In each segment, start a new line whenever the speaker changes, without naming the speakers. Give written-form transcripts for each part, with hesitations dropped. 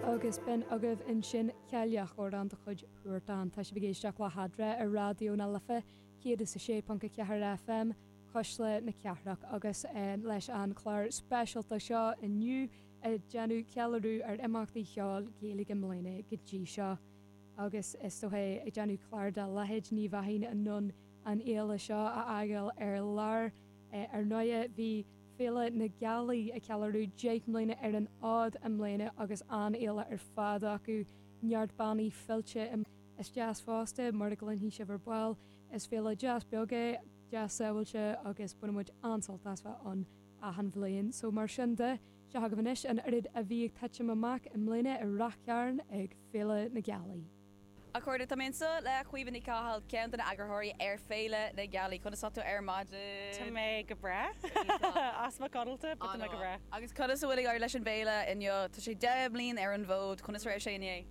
Agus b'in agaibh ansin Cailleach, amhrán de chuid Huartan. Tá sibh ag éisteacht le hEadra ar Raidió na Life 106.4 FM, Cuisle na Cathrach, agus leis an chlár speisialta seo inniu ag déanamh ceiliúradh ar imeachtaí cheoil Gaeilge i mbliana go dtí seo. Agus is dócha ag déanamh clár dá leithéid ní bheinn in ann an fhéile seo a fhágáil ar lár. Ar ndóighe bhí Féile na Gealaí ag ceiliúradh 10 mbliana ar an fhód i mbliana agus an-fhéile ar fad acu, neart bannaí fillte. Is deas fosta, mar a gcluinfidh sibh ar ball, is féile deas beag é, deas sábháilte agus baineann muid an-sult as bheith ann achan bhliain. So mar sin de, seo agaibh anois an oiread a bhí ag titim amach i mbliana i Rath Chairn ag Féile na Gealaí.
A chairde, tá mé anseo le Caoimhe Ní Chathail, ceann de na eagarthóirí ar Féile na Gealaí. Conas tá tú ar maidin?
Tá mé go breá. As mo codlata, but tá mé go breá.
Agus conas a bhfuil ag éirí leis an bhféile inniu? Tá sé 10 mbliain ar an bhfód, conas a raibh sé inné?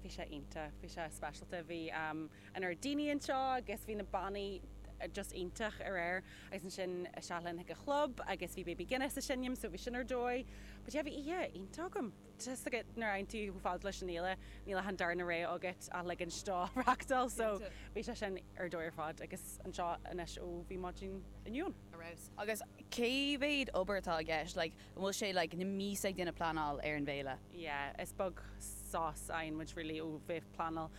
Bhí sé iontach, bhí sé speisialta. Bhí an oiread daoine anseo agus bhí na bannaí just iontach aréir agus ansin isteach linn chuig an chlub agus bhí Baby Guinness ag seinm so bhí sin ar dóigh. But yeah, bhí oíche iontach agam. Tá a fhios agat nuair a fhaigheann tú chomh fada leis an fhéile, níl ach an darna rogha agat ach ligint dó reachtáil so bhí sé sin ar dóigh ar fad agus anseo anois ó bhí maidin inniu ann.
Ar fheabhas. Agus cé mhéad obair atá i gceist? Like, an bhfuil sé like na míosa ag déanamh pleanáil ar an bhféile?
Yeah, is beag sos a fhaigheann muid really ó bheith ag pleanáil.